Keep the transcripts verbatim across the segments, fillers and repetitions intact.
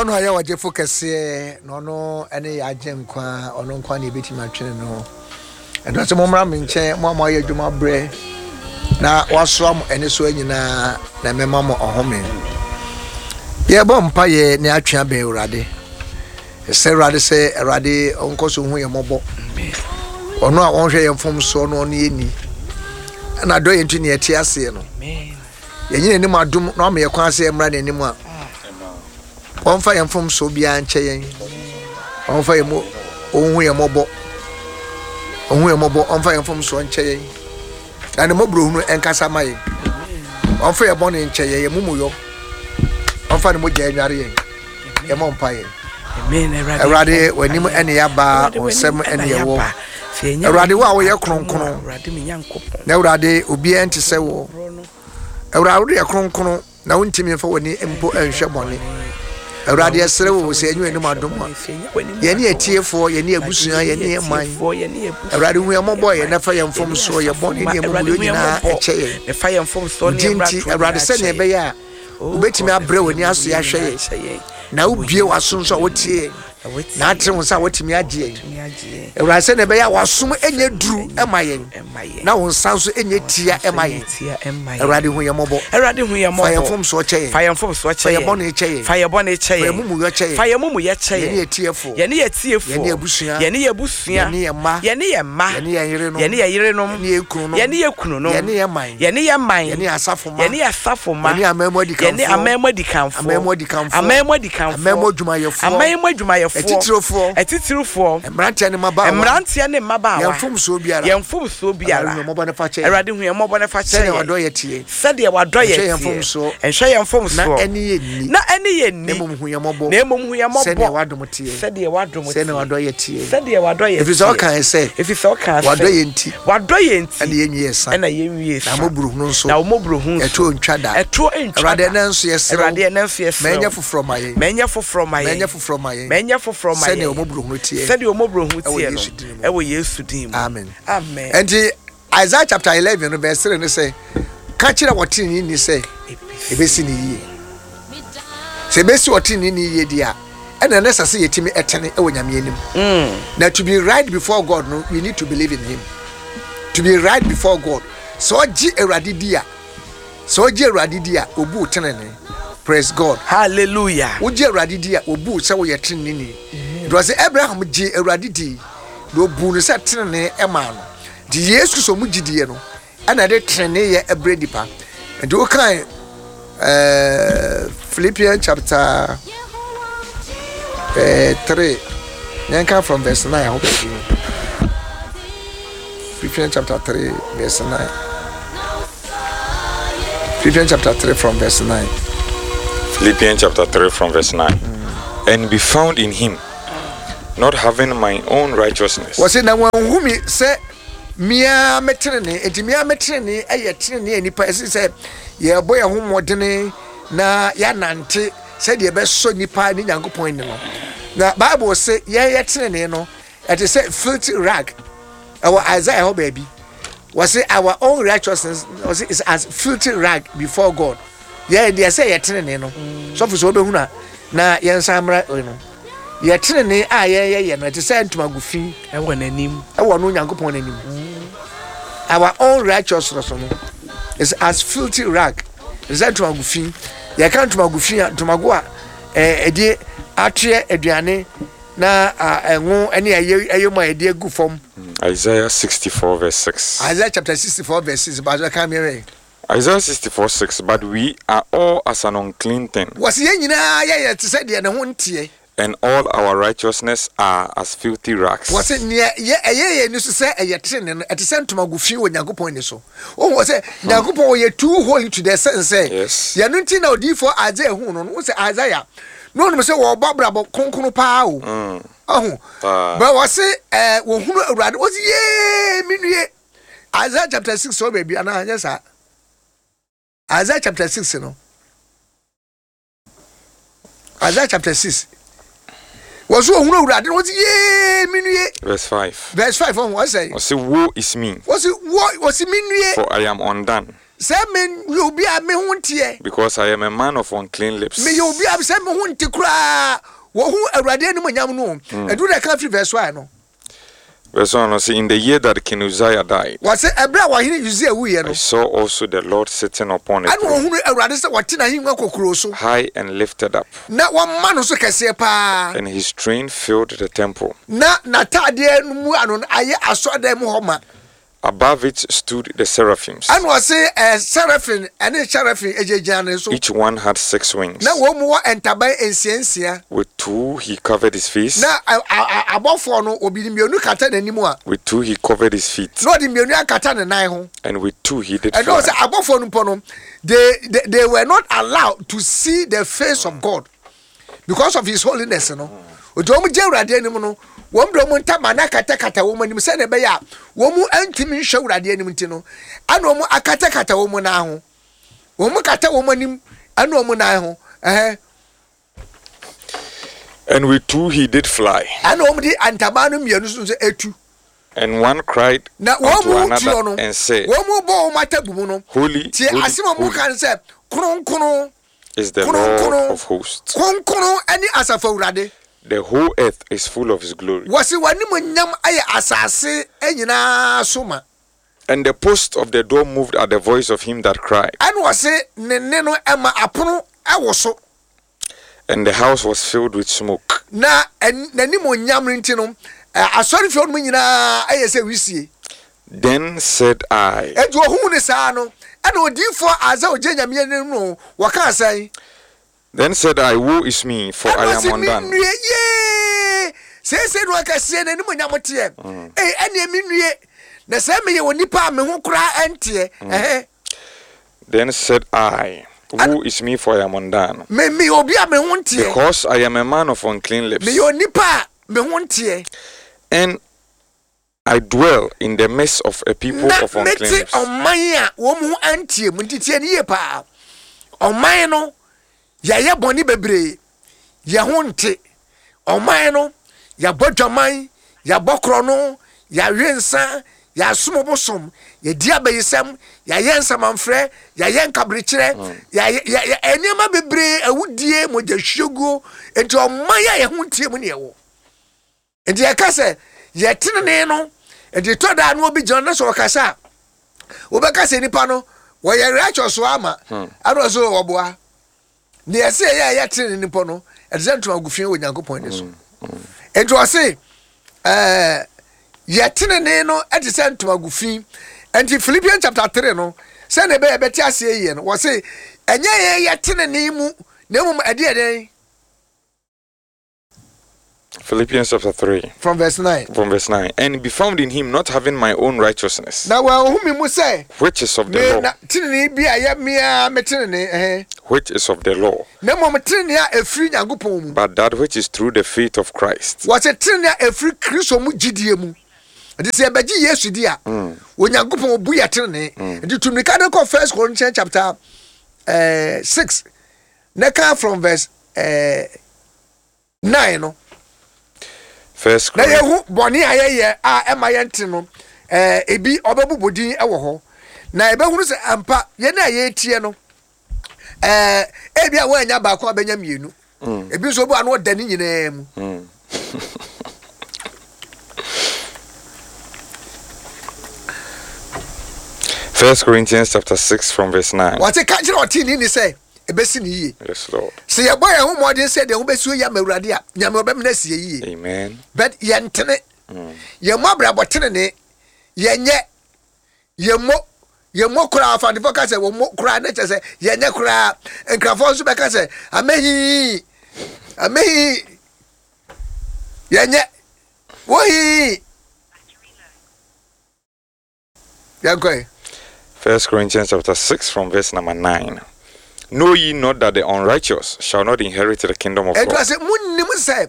Ɔno a yɛ ɔgyefo kɛseɛ na ɔno ne yɛ agye nkwa, ɔno nkwa na yɛbɛtumi atwene no. Ɛno sɛ mommra me nkyɛn, mo a moayɛ adwuma brɛ na wasoa mo ɛne soa nyinaa, na mɛma mo ɔhome. Yɛbɔ mpa yɛ ne atwe abɛn Awurade. Ɛsɛ Awurade sɛ Awurade ɔnkɔ so hu yɛn mmɔbɔ. Ɔno a ɔnhwɛ yɛn mfomsoɔ no, ɔno yɛ ni. Ɛna dɔ yɛn nti ne yɛte aseɛ no. Yɛnyɛ n'anim adom na ɔma yɛ kwan sɛ yɛmmra n'anim a, ɔmfa yɛn mfomsoɔ biara nkyɛ yɛn. Ɔmfa yɛn mu, ɔnhu yɛn mmɔbɔ. Ɔnhu yɛn mmɔbɔ, ɔmfa yɛn mfomsoɔ nkyɛ yɛn. Na ne mmɔborɔhunu ɛnkasa ma yɛn. Ɔmfa yɛn bɔne nkyɛ yɛn, yɛn mumuyɔ. Ɔmfa ne mogya nnware yɛn. Yɛmmɔ mpa yɛn. Awurade, w'anim ɛne yɛaba, wo nsɛm ɛne yɛwɔ. Awurade, wo a woyɛ kronkron, na Awurade, obiara nte sɛ wo. Awurade, wode yɛ kronkron, na wontumi mfa w'ani mpo nhwɛ bɔne. Awurade, yɛsrɛ wo sɛ ɛnyɛ w'anim adom a, yɛne atiefoɔ, yɛne abusua, yɛne yɛn man. Awurade, hu yɛn mmɔbɔ yɛn na fa yɛn mfomsoɔ, yɛn bɔne ne yɛn mumuyɔ nyinaa ɛkyɛ yɛn. Wo din nti, Awurade, sɛnea ɛbɛyɛ a wobɛtumi abrɛ w'ani ase ahwɛ yɛn, na wobie w'aso nso a wotie yɛn, na atere wo nsa a woatumi agye yɛn. Awurade, sɛnea ɛbɛyɛ a w'asom nyɛ duru ma yɛn, na wo nsa nso nyɛ tia ma yɛn. Awurade, hu yɛn mmɔbɔ. Fa yɛn mfomsoɔ kyɛ yɛn. Fa yɛn bɔne kyɛ yɛn. Fa yɛn bɔne kyɛ Fa yɛn yɛn. mumuyɔ kyɛ yɛn. Fa yɛn mumuyɛ kyɛ Yɛne yɛn. atiefoɔ. Yɛne atiefoɔ. Yɛne abusua. Yɛne yɛn abusua. Yɛne yɛn mma. Yɛne yɛn mma. Yɛne yɛn yerenom. Yɛne yɛn yerenom. Yɛne yɛn kununom. Yɛne yɛn kununom. Yɛne yɛn man. Yɛne yɛn man. Yɛne asafo mma. Yɛne asafo mma. Yɛne aman mu adikanfoɔ. Yɛne aman mu adikanfoɔ. Aman mu adikanfoɔ. Aman mu adikanfoɔ. Aman mu adwumayɛfoɔ. Aman mu adwumayɛfoɔ. Atitirifoɔ. Atitirifoɔ. Mmeranteɛ ne mmabaawa. Mmeranteɛ ne mmabaawa. Yɛn mfomsoɔ biara. Yɛn mfomsoɔ biara. Awurade hu yɛn mmɔbɔ ne fa kyɛ yɛn. Awurade hu yɛn mmɔbɔ ne fa kyɛ Sɛdeɛ yɛn. wadɔ yɛ teɛ. Sɛdeɛ wadɔ yɛ Nhwɛ yɛn teɛ. mfomsoɔ. Nhwɛ yɛn mfomsoɔ. Na ɛne yɛn nni. Na ɛne yɛn nni. Na mmom hu yɛn mmɔbɔ. Na mmom hu yɛn mmɔbɔ. Sɛdeɛ wadom teɛ. Sɛdeɛ wadom teɛ. Sɛdeɛ wadɔ yɛ teɛ. Sɛdeɛ wadɔ yɛ Ɛfiri sɛ teɛ. ɔkae sɛ. Ɛfiri sɛ ɔkaa sɛ. Wadɔ yɛn nti. Wadɔ yɛn nti. Ɛna yɛn nwie sa. Ɛna yɛn nwie sa. Na mmɔborɔhunu nso. Na mmɔborɔhunu nso. Ɛtoɔ ntwa da. Ɛtoɔ ntwa da. Awurade, ɛnɛ nso yɛsrɛ wo. Awurade, ɛnɛ nso yɛsrɛ wo. Ma ɛnyɛ foforɔ ma yɛn. Ma ɛnyɛ foforɔ ma yɛn. Ma ɛnyɛ foforɔ ma yɛn. Ma ɛnyɛ foforɔ ma yɛn. Sɛdeɛ mmɔborɔhunu teɛ. Sɛdeɛ mmɔborɔhunu Ɛwɔ teɛ no. Yesu din mu. Ɛwɔ Yesu din mu. Amen. Amen. Ɛnti Isaiah chapter eleven no verse three no sɛ, ka kyerɛ ɔteneneeni sɛ ebesi ne yie. Sɛ ebesi ɔteneneeni yie deɛ a, ɛna ɛna ɛsɛ sɛ yɛtumi ɛtene ɛwɔ Nyame anim. Mm. Na to be right before God no, we need to believe in him. To be right before God, sɛ ɔgye Awurade di a, sɛ ɔgye Awurade di a, obu wo tenene. Praise God. Hallelujah. Wogye Awurade di a, obu wo sɛ woyɛ teneneni. Nti ɔsɛ Abraham gye Awurade di na obu no sɛ tenene ɛmaa no. Nti Yesu Kristo mu gyidie no ɛna ɛde teneneyɛ ɛbrɛ nipa. Nti wokan ɛɛ Philippians chapter ɛɛ three, yɛnka from verse nine hɔ baabi no. Philippians chapter three verse nine. Philippians chapter three from verse nine. Philippians chapter three from verse nine. Mm. And be found in him, not having my own righteousness. Wɔsi na wɔn hu mi sɛ mmea me tenene, eti mmea me tenene ɛyɛ tenene a nipa ɛsi sɛ yɛbɔ yɛn ho mmɔdene na yɛanante sɛdeɛ ɛbɛsɔ nipa ne Nyankopɔn ani no. Na Bible se yɛyɛ tenene no ɛte sɛ filthy rag. Ɛwɔ Isaiah hɔ baabi. Wɔsi our own righteousness wɔsi is as filthy rag before God. Yɛ deɛ sɛ yɛ tenene no, sɔfo sɛ wɔbɛhunu a na yɛn nsa mmra no. Yɛ tenene a yɛyɛ yɛ no ɛte sɛ ntomago fi ɛwɔ n'anim. Ɛwɔ no Nyankopɔn n'anim. Our own righteousness no is as filthy rag. Ɛte sɛ ntomago fi. Yɛka ntomago fi a, ntomago a ɛɛ ɛde atoɛ aduane na ɛngo ɛne ɛyɛ ɛyɛ mu a yɛde agu fam. Isaiah sixty-four verse six. Isaiah chapter sixty-four verse six. Baso kan mi rɛ. Isaiah sixty-four six. But we are all as an unclean thing. Wɔsi yɛn nyinaa yɛyɛ te sɛ deɛ ne ho nteɛ. And all our righteousness are as filthy rags. Wɔsi nea yɛ ɛyɛ yɛn ani so sɛ ɛyɛ tenene no, ɛte sɛ ntomago fi wɔ Nyankopɔn ani so. Ohun wɔ sɛ Nyankopɔn ɔyɛ too holy to the sense sɛ Yes. yɛn nti na odiyifoɔ Isaiah hu no no, sɛ Isaiah na onim sɛ wɔbɔ abrabɔ kronkron paa o. Ɔho. Paa. Bɛ wɔsi ɛɛ wɔhunu Awurade, wɔsi yee mi nue. Isaiah chapter six wɔ baabi anaa anyɛ saa? Isaiah chapter six no. Isaiah chapter six. Wɔsi ohunu Awurade na wɔsi yee mi nue. Verse five. Verse five ɔho ɔsɛ. Ɔse, woe is me. Wɔsi wo wɔsi mi nue. For I am undone. Sɛ meyɛ obi a me ho nteɛ. Because I am a man of unclean lips. Meyɛ obi a sɛ me ho nte koraa. Wɔhu Awurade animuonyam no o. Ɛduru dɛ ka firi verse one no. Verse one no say, in the year that King Uzziah died. Wɔse ɛberɛ a ɔhene Uzziah wuiɛ no. I saw also the Lord sitting upon a Ɛna throne. ɔhunu Awurade sɛ ɔte n'ahengua kokuroo so. High and lifted up. Na wɔma no so kɛseɛ paa. And his train filled the temple. Na n'ataadeɛ no mu ano no ayɛ asɔredan mu hɔ ma. Above it stood the seraphims. Ɛna ɔse eh, seraphim ɛne cherubim egyinagyina ne so. Each one had six wings. Na wɔn mu wɔ ntaban nsia nsia. With two he covered his face. Na abɔfoɔ no obi de mmienu kata n'anim a. With two he covered his feet. Na ɔde mmienu akata ne nan ho. And with two he did fly. Ɛna ɔsɛ abɔfoɔ no mpo no, they, they, they were not allowed to see the face of God because of his holiness no. Nti wɔn gye Awurade anim no, wɔn de wɔn ntama no akatakata wɔn anim sɛdeɛ ɛbɛyɛ a wɔn ntumi nhwɛ Awurade anim nti no, ɛna wɔn akatakata wɔn nan ho. Wɔn kata wɔn anim ɛne wɔn nan ho. Ɛhɛn. And with two he did fly. Ɛna wɔn de ntaban no mmienu nso etu. And one cried Na wɔn unto mu another tuo no, and said, wɔn mu bɔ wɔn atabu mu no. Holy, Tie holy, asɛm a wɔn holy ka no sɛ, kronkron, is the Lord kronkron, of hosts. kronkron ɛne asafo Awurade. The whole earth is full of his glory. Wɔsi w'animuonyam ayɛ asase nyinaa so ma. And the post of the door moved at the voice of him that cried. Ɛna wɔsi ne nne no ɛma apono ɛwɔ so. And the house was filled with smoke. Na n'animuonyam no nti no, asɔrefie no mu nyinaa ɛyɛ sɛ wisie. Then said I. Enti ohun ne saa no, ɛna odiyifoɔ Isaiah ogye Nyame anim no, wɔka asɛn. Then said I, woe is me, for I am undone. Ɛna ɔsi me nue yee, seesei no akɛseɛ n'animuonyam teɛ. Ee, ɛnneɛ me nue, na sɛ meyɛ onipa a me ho koraa ɛnteɛ. Ɛhɛn. Then said I, woe is me, for I am undone. Me meyɛ obi a me ho nteɛ. Because I am a man of unclean lips. Meyɛ onipa a me ho nteɛ. And I dwell in the midst of a people Na of unclean mete lips. ɔman a wɔn ho anteɛ mu. Nti tie no yie paa. Ɔman no, yɛayɛ bɔne bebree. Yɛn ho nte. Ɔman no, yɛabɔ dwaman, yɛabɔ korɔno, yɛawe nsa, yɛasom bosom, yɛdi abayisɛm, yɛayɛ nsamanfrɛ, yɛayɛ nkaberekyerɛ, yɛayɛ yɛ yɛ nneɛma bebree, awudie, mogyahwieguo. Nti ɔman a yɛn ho nteɛ mu ne yɛwɔ. Nti yɛka sɛ yɛtenene no, nti tɔ daa no obi gyina no sɛ ɔkasa a, wobɛka sɛ nipa no wɔyɛ righteous so ama, ɛna ɔsɛ wɔboa. Ne yɛsɛ yɛyɛ a yɛtenene nipa no, ɛte sɛ ntoma gu fi wɔ Nyankopɔn ani so. Nti ɔse ɛɛ yɛtenene no ɛte sɛ ntoma gu fi. Nti Philippians chapter three no, sɛnea ɛbɛyɛ bɛte aseɛ yie no, wɔse ɛnyɛ yɛn yɛtenene mu, na mmom ɛde yɛ dɛn? Philippians chapter three. From verse nine. From verse nine. And be found in him, not having my own righteousness. Na wɔahu me mu sɛ. Which is of the Me law. na tenene bi a yɛ mea me tenene, ɛhɛn. Which is of the law. Na mmom tenene a ɛfiri Nyankopɔn mu. But that which is through the faith of Christ. Wɔse tenene a ɛfiri Kristo mu gyidie mu. Nti sɛ yɛbɛgye Yesu di a, Onyankopɔn obu yɛ tenene. Nti tumirika no kɔ First Corinthians chapter eh, six. Na ka from verse eh, nine no. First Na Corinthians. yɛhu bɔne a yɛyɛ a ɛma yɛnte no, eh, ebi ɔbɛbobɔ din wɔ hɔ. Na yɛbɛhunu sɛ ampa yɛn a yɛretie no, eh, ebi a wɔanya baako a bɛnya mmienu. Ebi nso obi a no ɔda ne nyinaa mu. First Corinthians chapter six from verse nine. Wɔte ka kyerɛ ɔtee ni sɛ ebesi ne yie. Yes, Lord. Sɛ yɛbɔ yɛn ho mmɔden sɛ deɛ ho bɛsi yɛ ama Awurade a, Nyame ɔbɛmena sie yie. Amen. But yɛntene. Yɛmmɔ abrabɔ tenene. Yɛnyɛ. Yɛmmɔ. Yɛmmɔ koraa. Afantefoɔ ka sɛ wɔmmɔ koraa ne kyɛ sɛ yɛnyɛ koraa. Nkrafoɔ nso bɛka sɛ amehii. Amehii. Yɛnyɛ. Wohii. Yɛnkɔ. First Corinthians chapter six from verse number nine. Know ye not that the unrighteous shall not inherit the kingdom of Ɛnti God? sɛ munnim sɛ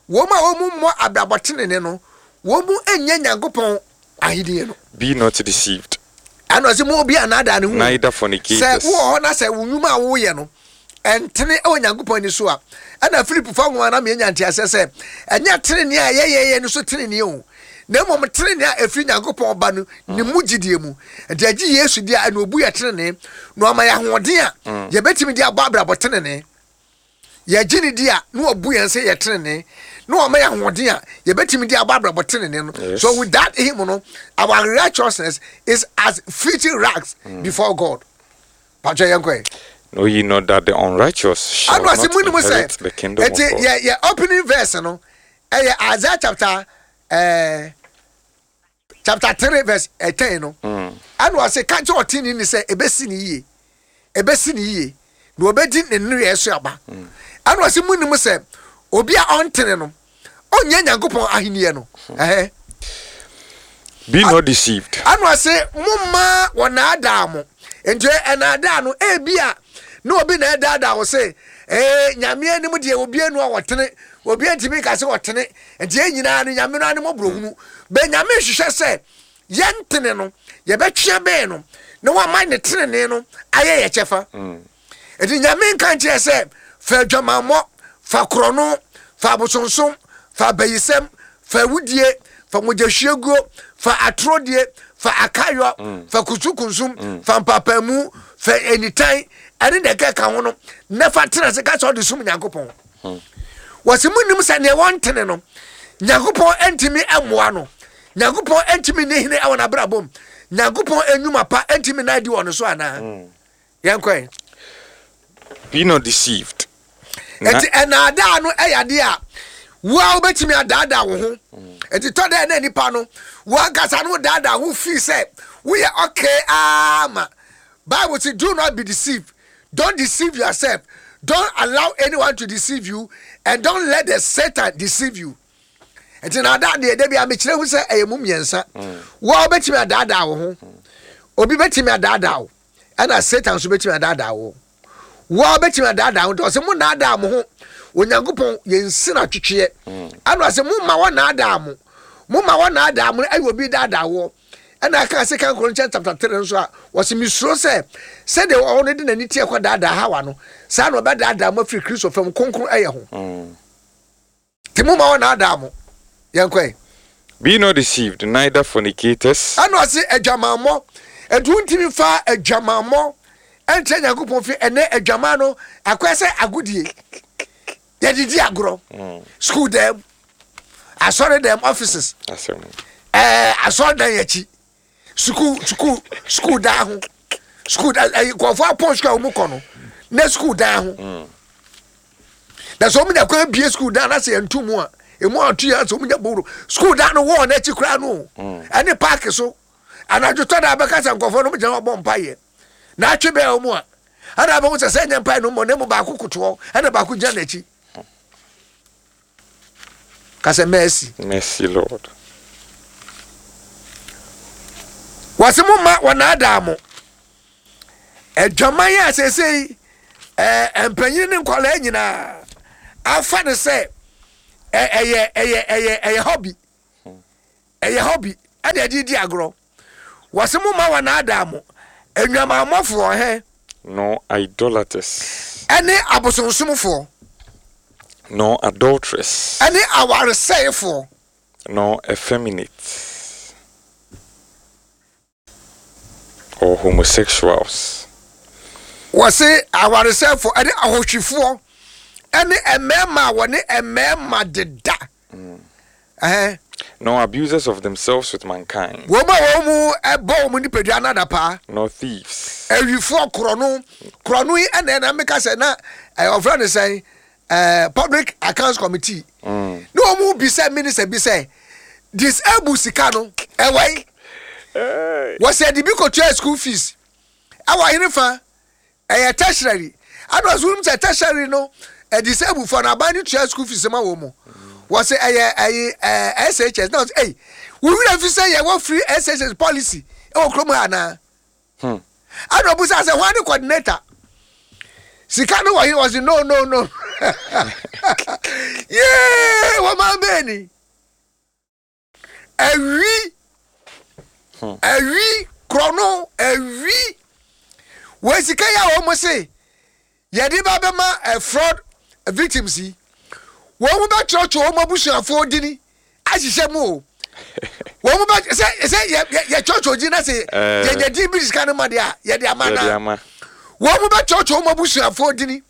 wɔn a wɔn mmɔ abrabɔ tenene no, wɔn mu nyɛ Nyankopɔn ahenni no. Be not deceived. Ɛna ɔsɛ mo obi anaadaa ne ho. Neither Sɛ fornicators. wowɔ hɔ na sɛ wo nnwuma a woyɛ no ɛntene ɛwɔ Nyankopɔn ani so a, ɛna Philip fa nwoma na mmiɛnya nteaseɛ sɛ ɛnyɛ tenene a yɛyɛyɛ no so tenene o, Na mmom tenene a ɛfiri Nyankopɔn ba no ne mu gyidie mu. Nti agye Yesu di a, ɛna obu yɛ tenene na ɔma yɛ ahoɔden a yɛbɛtumi de abɔ abrabɔ tenene. Yɛgye ne di a, na wabu yɛn sɛ yɛ tenene na ɔma yɛ ahoɔden a yɛbɛtumi de abɔ abrabɔ tenene no. Yes. So without him no, our righteousness is as filthy rags before God. Patwɛ, yɛn kɔɛ. Know ye not that the unrighteous shall Ano ase not mu ni mu sɛ inherit the kingdom of eti God? yɛ yɛ opening verse no ɛyɛ Isaiah chapter ɛɛ chapter three verse ten no. Ɛna ɔsɛ ka kyerɛ ɔtene ni sɛ ebesi ne yie, ebesi ne yie na obedi ne nneyɛɛ so aba. Ɛna ɔsɛ mu ni mu sɛ obi a ɔntene no, ɔnyɛ Nyankopɔn ahenni no ɛhɛ. Be not deceived. Ɛna ɔsɛ mo mma wɔnaadaa mo. Nti ɛnaadaa no, ebi a na obi na ɛdaadaa wo sɛ ee, Nyame anim deɛ, obi anu a wɔtene, obi ntumi nka sɛ wɔtene. Nti yɛn nyinaa no, Nyame no anim ɔborɔhunu bɛ. Nyame hwehwɛ sɛ yɛntene no, yɛbɛtwea bɛn no na wama ne tenene no ayɛ yɛ kyɛfa. Nti Nyame nka nkyerɛ sɛ fa adwamammɔ, fa korɔno, fa abosonsom, fa abayisɛm, fa awudie, fa mogyahwieguo, fa atorodie, fa akayɔ, fa kusukunsum, fa mpapamu, fa anitan ɛne deɛ ɛkeka ho no na fa tena se ka sɛ ɔde som Nyankopɔn. Wɔsi mu nim sɛ neɛ wɔntene no, Nyankopɔn ntumi mmoa no, Nyankopɔn ntumi ne hene ɛwɔ n'abrabɔ mu, Nyankopɔn enyuma pa ntumi na adi wɔ no so anaa? Yɛnkɔɛ. Be not deceived. Na- Nti ɛnaadaa no ɛyɛ adeɛ a wo a wobɛtumi adaadaa wo ho. Nti tɔ dɛ na nipa no wankasa no daadaa ho fii sɛ woyɛ okay ama Bible say, do not be deceived. Don't deceive yourself. Don't allow anyone to deceive you and don't let the Satan deceive you. Nti naadaa deɛ, da bi a mekyerɛ hu sɛ ɛyɛ mu mmiɛnsa. Wo a wobɛtumi adaadaa wo ho, obi bɛtumi adaadaa wo, ɛna Satan nso bɛtumi adaadaa wo. Wo a wobɛtumi adaadaa wo. Nti ɔsɛ mo naadaa mo ho, Onyankopɔn yɛnsi no atwetweɛ. Ɛna ɔsɛ mo ma wɔnaadaa mo, mo ma wɔnaadaa mo no, ɛyɛ obi daadaa woɔ. Ɛna aka Second Corinthians chapter three nso a, wɔsɛ misuro sɛ sɛdeɛ ɔno de n'ani teɛ kɔ daadaa Hawa no, saa na ɔbɛdaadaa mo afiri Kristo fam kronkron ɛyɛ ho. Nti mo ma wɔnaadaa mo. Yɛnkɔɛ. Be not deceived, neither fornicators, Ɛna ɔse adwamammɔ. Ɛnti wontumi fa adwamammɔ ɛnkyerɛ Nyankopɔn fi. Ɛnɛ adwama no akɔɛ sɛ agodie, yɛdedi agorɔ, school dɛm, asɔre dɛm, offices, Asɛm. ɛɛ asɔre dan akyi, sukuu sukuu sukuu dan ho, sukuu dan ɛyi nkɔfoɔ apɔn sukuu a wɔn kɔ no na sukuu dan ho. Na sɛ wɔn nya kwan bie sukuu dan na sɛ yɛn tu mu a, emu ato yɛn sɛ wɔn nya bowro sukuu dan no wɔɔ n'akyi koraa no, ɛne paaki so. Anadwo tɔ da bɛka sɛ nkɔfoɔ no gyina hɔ bɔ mpa yɛ na atwe bɛn wɔn a, ɛna abɛho sɛ sɛ nyɛ mpa no mmɔ na emu baako kotoɔ ɛna baako gyina n'akyi kasɛ mercy. Mercy, Lord. Wɔsi mo ma wɔnaadaa mo. Adwaman a seesei ɛɛ mpanyin ne nkwadaa nyinaa afa ne sɛ ɛ ɛyɛ ɛyɛ ɛyɛ ɛyɛ hobby, ɛyɛ hobby ɛna ɛde di agorɔ. Wɔsi mo ma wɔnaadaa mo, enwamammɔfoɔ hɛn, Nor idolaters, ɛne abosonsomfoɔ, nor adulterers, ɛne awaresɛefoɔ, nor effeminate or homosexuals, Wɔsi awaresɛefoɔ ɛne ahohwifoɔ ɛne mmarima a wɔne mmarima deda ɛhɛn, nor abusers of themselves with mankind, wɔn a wɔn mu ɛbɔ wɔn nipadua nada paa, nor thieves, awifoɔ, korɔno. Korɔno yi ɛna ɛna meka sɛ na ɛɛ ɔfrɛ no sɛn, ɛɛ Public Accounts Committee Mm. na wɔn mu bisa minister bi sɛ disable sika no ɛwɔ yi. Wɔsɛ de bi kɔtua school fees ɛwɔ ahene fa ɛyɛ tertiary. Ɛna ɔsɛ wɔn sɛ tertiary no, ɛ disable fo no, aban no tua school fees ma wɔn mu. Wɔsɛ ɛyɛ ɛyɛ ɛɛ S H S na ɔsɛ ɛyi wúwúrɛ fi sɛ yɛwɔ free S H S policy ɛwɔ kurom ha anaa? Hmm. Ɛna ɔbusa sɛ wɔn ne coordinator sika no wɔ he? Wɔsi no, no, no, yee, wɔn maa bɛɛ ni awi awi korɔno awi wɔ sika yi a wɔn se yɛde ba bɛma ɛ fraud victims yi, wɔn mo bɛtwerɛtwerɛ wɔn abusuafoɔ dini ahyehyɛ mu o. Wɔn mo bɛ sɛ sɛ yɛ yɛ yɛ kyɔkyɔ gyi na sɛ Eh. yɛ yɛ din bi sika no ma deɛ a yɛde ama Yɛde na ama. Wɔn mo bɛ kyɔkyɔ wɔn abusuafoɔ dini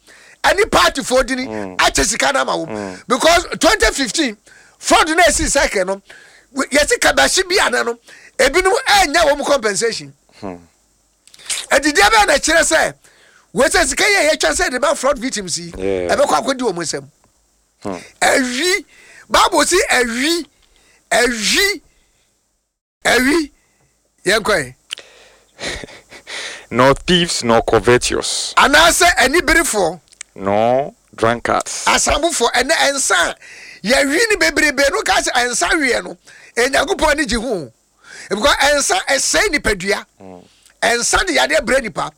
ɛne partyfoɔ dini akyɛ sika no ama wɔn, because twenty fifteen fraud na esi cycle no, yɛsi kabahyi bi ana no, ebinom ɛnya wɔn compensation. Ɛdidiɛ bɛyɛ na kyerɛ sɛ wɔsɛ sika yɛ yɛtwa sɛ de ba fraud victims yi, Yeah. ɛbɛkɔ akɔdi wɔn nsam. Ɛwi Bible si ɛwi ɛwi ɛwi yɛn kɔ yi. Nor thieves, nor covetous, anaasɛ aniberefoɔ, nor drunkards, asambofoɔ. Ɛnɛ ɛnsa a yɛwi ne bebrebe no ka sɛ ɛnsa weɛ no, Onyankopɔn ani gye ho, because ɛnsa ɛsɛe nipadua, ɛnsa de yadeɛ brɛ nipa,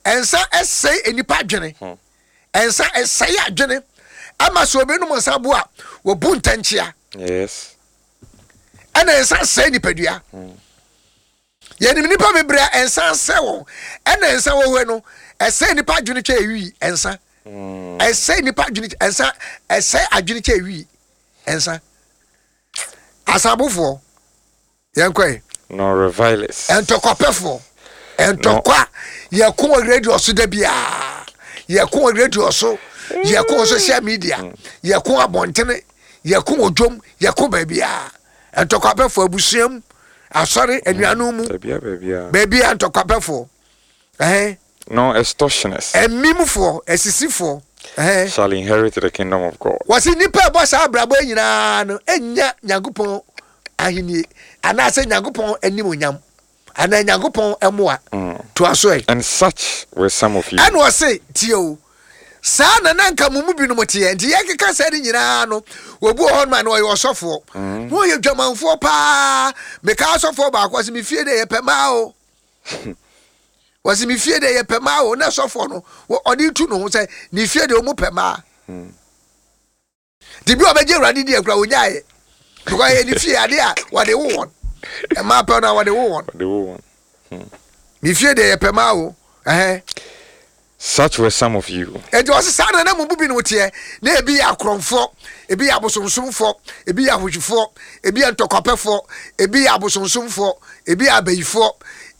ɛnsa ɛsɛe nipa adwene, ɛnsa ɛsɛe adwene ama sɛ obi nom nsa bo a, wɔbu ntɛnkyea. Yes. Ɛna nsa sɛe nipadua. Yɛnim nipa bebree a ɛnsa sɛ wɔn. Ɛna nsa wɔ hɔ no, ɛsɛe nipa adwene kyɛ ewi. Ɛnsa ɛsɛe nipa adwene, ɛnsa ɛsɛe adwene kyɛ ewi. Ɛnsa, asabofoɔ, yɛn kɔ yi. Nor revilers, Ɛntɔkwapɛfoɔ, ɛntɔkwa. Yɛko wɔ radio so da biara, yɛko wɔ radio so, yɛko wɔ social media, yɛko abɔntene, yɛko wɔ dwom, yɛko baabiara. Ntɔkwapɛfoɔ, abusuam, asɔre, anuanom mu. Baabia, baabia. Baabiara ntɔkwapɛfoɔ, ɛhɛn. Nor extortioners ɛmimfoɔ, asisifoɔ, ɛhɛn, shall inherit the kingdom of God. Wɔsi nipa ɛbɔ saa abrabɔ yi nyinaa no enya Nyankopɔn ahennie anaasɛ Nyankopɔn anim onyam anaa Nyankopɔn ɛmoa. Toa so ɛ. And such were some of you. Ɛna ɔse tie o, saa na na nka mo mu binom teɛ. Nti yɛkeka sɛ ne nyinaa no, wɔbu wɔ hɔ nom a na ɔyɛ ɔsɔfoɔ na ɔyɛ dwamanfoɔ paa. Meka asɔfoɔ baako, ɔse me fie de yɛpɛ maa o, wɔse me fie de yɛpɛ maa o. Na sɔfoɔ no wɔ- ɔde tu ne ho sɛ ne fie de ɔmu pɛ maa nti bi a ɔbɛgye Awurade di akura ɔnyaeɛ, because ɛyɛ ne fie ade a wɔde wo wɔn ɛmaa pɛ no a wɔde wo wɔn. Wɔde wo wɔn. Ne fie de yɛpɛ maa o, ɛhɛn. Such were some of you. Enti ɔse saa na na mo mu bi no teɛ. Na ebi yɛ akorɔmfoɔ, ebi yɛ abosonsomfoɔ, ebi yɛ ahohwifoɔ, ebi yɛ ntɔkwapɛfoɔ, ebi yɛ abosonsomfoɔ, ebi yɛ abayifoɔ,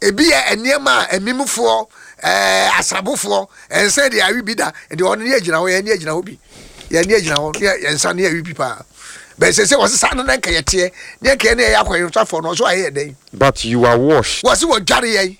ebi yɛ nneɛma a amimfoɔ, ɛɛ asabofoɔ. Ɛnsɛn de awi bi da deɛ ɔno ne yɛ gyina hɔ, yɛn ne yɛ gyina hɔ bi, yɛn ne yɛ gyina hɔ, ne yɛ nsa ne yɛ awi bi paa bɛn sɛ sɛ wɔse saa na na nka yɛ teɛ ne nka yɛ ne yɛ akɔyɛnsafoɔ no ɔso ayɛ yɛ dɛn. But you are washed, Wɔse wɔdware yɛn,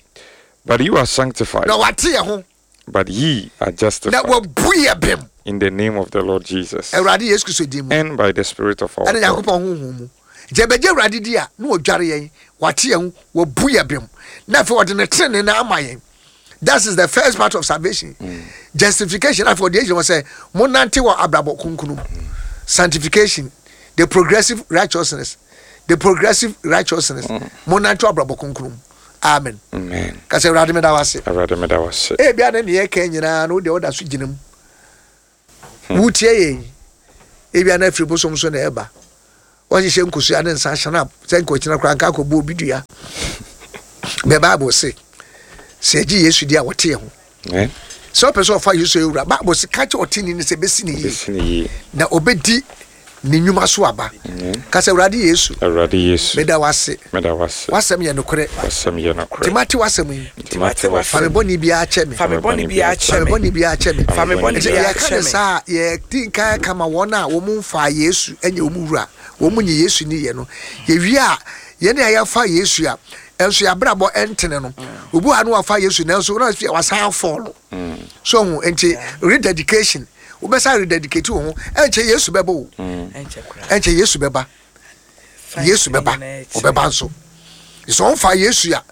but you are sanctified, na wɔate yɛn ho, but ye are na justified wɔbu yɛ bem in the name of the Lord Jesus Awurade Yesu Kristo din mu and by the Spirit of our ɛne God. Nyankopɔn honhom mu. Nti ɛbɛgye Awurade di a, na wɔdware yɛn, wate yɛn ho, wɔbu yɛ bem, na afei ɔde ne tenene no ama yɛn. That is the first part of salvation, justification. Afei ɔde agyina hɔ sɛ monante wɔ abrabɔ kronkron mu, sanctification, the progressive righteousness, the progressive righteousness. Monante wɔ abrabɔ kronkron mu. Amen. Amen. Kasɛ, Awurade, meda wo ase. Awurade, meda wo ase. Ebia ne neɛ ɛka nyinaa no, wodeɛ woda so gyina mu wotie yɛn. Ebia na afiri bosom so na ɛba, wɔhyehyɛ nkosua ne nsa ahyɛn sɛ nkɔkyina koraa nka akɔbu obi dua. Bɛ Bible se sɛ yɛgye Yesu di a, wɔte yɛn ho. Amen. Sɛ ɔpɛ sɛ ɔfa Yesu awura, Bible se ka kyɛ ɔteni no sɛ bɛsi ne yie Bɛsi ne yie. na ɔbɛdi ne nnwuma so aba. Amen. Ka sɛ, Awurade Yesu, Awurade Yesu, meda wo ase. Meda wo ase. W'asɛm yɛ nokorɛ. W'asɛm yɛ nokorɛ. Nti mate w'asɛm yi, Nti mate fa me w'asɛm. bɔne biara kyɛ me. Fa me bɔne biara Fa kyɛ me me. bɔne biara kyɛ me. Fa me bɔne Nti biara yɛka kyɛ ne me. saa a, yɛdi nkan kama wɔn a wɔn mfa Yesu nyɛ wɔn wura, wɔn nye Yesu ni yɛ no. Yɛwie a, yɛne a yɛfa Yesu a ɛnso yɛabrabɔ ɛntene no, obi wɔ ha no wafa Yesu nanso na afei wasan afɔ no so ho. Nti rededication, wobɛsa rededicate wo ho. Ɛnkyɛ Yesu bɛbɔ wo. Ɛnkyɛ koraa. Ɛnkyɛ Yesu bɛba. Yesu bɛba, ɔbɛba nso. Sɛ ɔmfa Yesu a,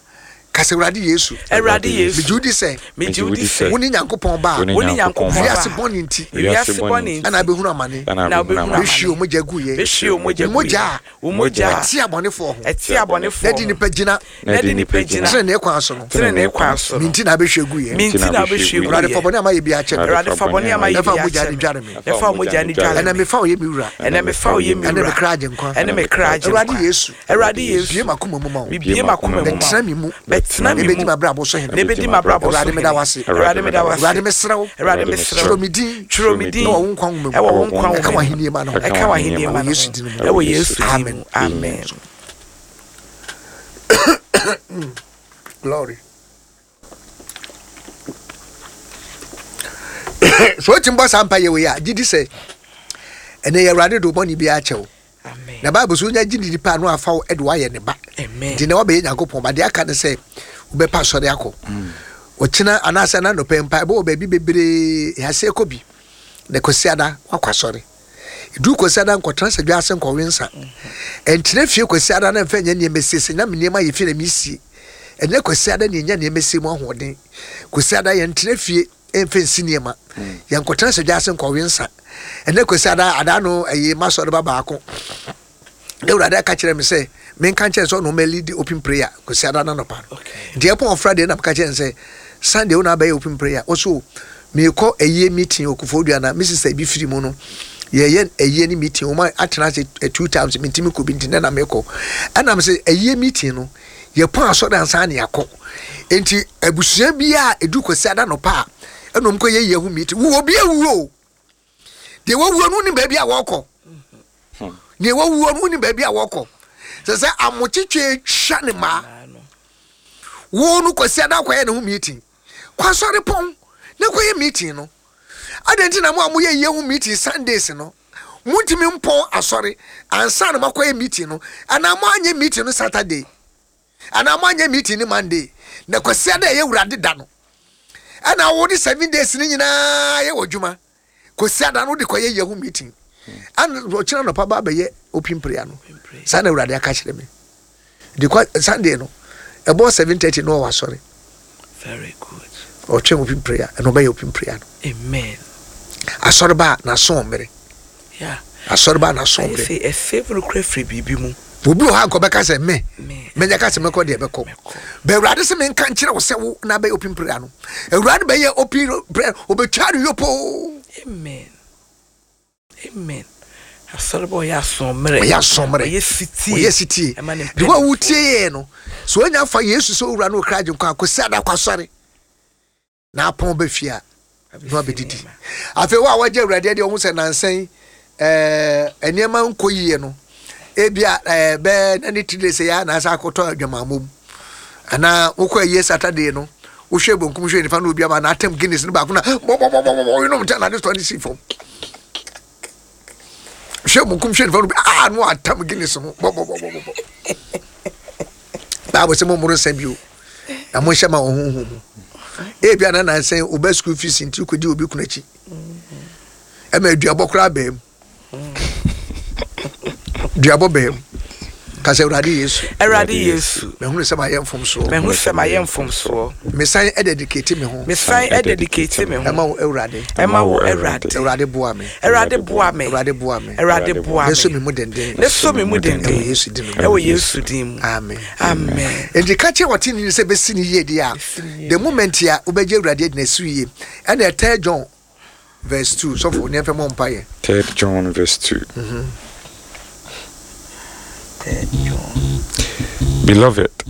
kasa, Awurade Yesu, Awurade Yesu, megye wo di sɛ megye wo di sɛ wo ne Nyankopɔn ba a Wo ne wo ne Nyankopɔn Nyankopɔn ba. wiase ba bɔne nti wiase bɔne nti ɛna abɛhunu amane, Ɛna na abɛhunu wobɛhunu amane. bɛhwie wo mogya gu yɛ, bɛhwie wo mogya wo gu mogya yɛ. a Wo mogya a ɛte abɔnefoɔ ho ɛte abɔnefoɔ na di ho nipa gyina na di nipa gyina tenenee kwan so no, tenenee kwan so no, me nti na abɛhwie gu yɛ. Me nti na wobɛhwie gu Awurade, fa yɛ. bɔne a mayɛ bi akyɛ me. Awurade, fa bɔne a mayɛ Na fa bi mogya akyɛ no me. dware me. Na fa wo mogya no dware Ɛnɛ me. mefa wo yɛ me wura. Ɛnɛ mefa wo yɛ me Ɛne me wura. kra agye nkwa. Ɛne me kra agye Awurade nkwa. Yesu, Awurade bie Yesu, m'akoma mu ma wo. mebie m'akoma mu ma Bɛtena wo. me mu. Bɛtena me Na ɛbɛdi mu. m'abrabɔ so hene. Na ɛbɛdi m'abrabɔ so Awurade, hene. meda wo ase. Awurade, meda wo ase. Awurade, mesrɛ wo, Awurade, mesrɛ twerɛ wo, me din twerɛ me din na wɔ wo nkwa nwoma mu. Ɛwɔ wo nkwa Ɛka nwoma mu. w'ahennie ma no ho. Ɛka w'ahennie ma Ɛwɔ no Yesu ho. din mu. Ɛwɔ Yesu din Amen. mu, amen. Glory. So wetin bɔ saa mpa yɛ wei a gye di sɛ ɛnɛ yɛ Awurade de bɔne bi akyɛ wo. Na Bible so wonya gye di nipa no afa wo de wayɛ ne ba. Nti na wabɛyɛ Nyankopɔn ba. Deɛ aka ne sɛ wobɛpa asɔre akɔ. Ɔkyena anaasɛ na nɔpɛ mpa ɛbɛwɔ baabi bebree yɛasɛ kɔ bi. Na Kwasiada wakɔ asɔre. Edu Kwasiada nkɔtena sɛ dwa ase nkɔwe nsa. Ɛntena fie Kwasiada na mfa nyɛ nneɛma siesie na me nneɛma yɛ fie na mesie. Ɛnyɛ Kwasiada na ɛnya nneɛma sie mu ahoɔden. Kwasiada yɛntena fie ɛmfa nsi nneɛma. Yɛnkɔtena sɛ dwa ase nkɔwe nsa. Ɛnɛ Kwasiada ada no ɛyɛ masɔre ba baako. Na Awurade aka kyerɛ me sɛ menka nkyerɛ sɛ ɔno ɔma lead open prayer Kwasiada na nɔpa no. Nti ɛpɔn Friday na meka kyerɛ no sɛ Sunday wo na abɛyɛ open prayer. Ɔso meekɔ ɛyie meeting wɔ Koforidua na me sister bi firi mu no yɛyɛ ɛyie ne meeting wɔn atena ase two times mentimi kɔ bi nti nɛ na mekɔ. Ɛnam sɛ ɛyie meeting no yɛpɔn asɔre ansa na yɛakɔ. Nti abusua bi a ɛdu Kwasiada nɔpa a ɛna wɔn kɔ yɛ yie ho meeting. Wo obi awuo o. Deɛ wawuo no wonim baabi a wɔkɔ. Deɛ wawuo no wonim baabi a wɔkɔ. Sɛ sɛ amokyekye twa ne mmaa. Wo no Kwasiada akɔyɛ ne ho meeting. Kɔ asɔre pɔn na kɔyɛ meeting no. Adɛn nti na mo a moyɛ yie ho meeting Sundays no montumi mpɔn asɔre ansa na moakɔyɛ meeting no, anaa moanyɛ meeting no Saturday anaa moanyɛ meeting no Monday na Kwasiada ɛyɛ Awurade da no ɛna wode seven days no nyinaa yɛ wɔ adwuma. Kwasiada no wode kɔyɛ yie ho meeting ɛna ɔkyena nɔpa ba bɛyɛ open prayer no. Saa na Awurade aka kyerɛ me. De kɔ Sunday no ɛbɔ seven thirty no ɔwɔ asɔre. Very good. Ɔtwɛn open prayer ɛna ɔbɛyɛ open prayer no. Amen. Asɔre ba na so mmere. Yeah. Asɔre ba na so mmere. Ɛsɛ ɛsɛ no kura firi biribi mu. Obi wɔ ha nkɔ bɛka sɛ me. Menya ka sɛ mɛkɔ deɛ bɛkɔ. Bɛ Awurade sɛ menka nkyerɛ wo sɛ wo na bɛyɛ open prayer no. Awurade bɛyɛ open prayer obɛtwa no yopo. Amen. Amen. Asɔre ba ɔyɛ asɔmmere. Ɔyɛ asɔmmere. Ɔyɛ sitie. Ɔyɛ sitie. De wo a wotie yɛ no. So onya fa Yesu sɛ owura no okra agye nkwa akɔsi ada kɔ asɔre. Na apɔn bɛ fie a na wabɛdidi. Afei wo a wagye Awurade adi ɔho sɛ nansɛn ɛɛ nneɛma nkɔ yie no. Ebia ɛɛ bɛɛ na ne tiri sɛ ya na asa akɔtɔ adwamammom. Anaa wokɔ ayie Saturday no wohwɛ bonkum hwɛ nifa na obi ama na atam Guinness no baako na bɔbɔbɔbɔbɔ yinom nkyɛn na ade tɔ ne si fam. Hwɛ bonkum hwɛ nifa na obi ah no atam Guinness ho bɔbɔbɔbɔbɔ. Bible sɛ mo mmoro nsa bio na mo nhyɛ ma wɔn honhom mu. Ebia na nansɛn oba school fees nti kɔdi obi kunu akyi. Ɛma aduabɔ koraa bɛn mu. Duabɔ bɛn mu. Ka sɛ Awurade Yesu. Awurade Yesu. Mehunu sɛ mayɛ mfomsoɔ. Mehu sɛ mayɛ mfomsoɔ. Mesan dedicate me ho. Mesan dedicate me ho. Ɛma wo Awurade. Ɛma wo Awurade. Awurade boa me. Awurade boa me. Awurade boa me. Awurade boa me. Ne so me mu denden. Ne so me mu denden. Ɛwɔ Yesu din mu. Ɛwɔ Yesu din mu. Amen. Amen. Enti ka kyerɛ wɔte ni sɛ bɛsi ne yie deɛ a the moment a wobɛgye Awurade adi na esi yie. Ɛna Third John verse two. Sɔfo ne mfɛ mɔ mpaeɛ. Third John verse two. Mm-hmm. Third John. Beloved,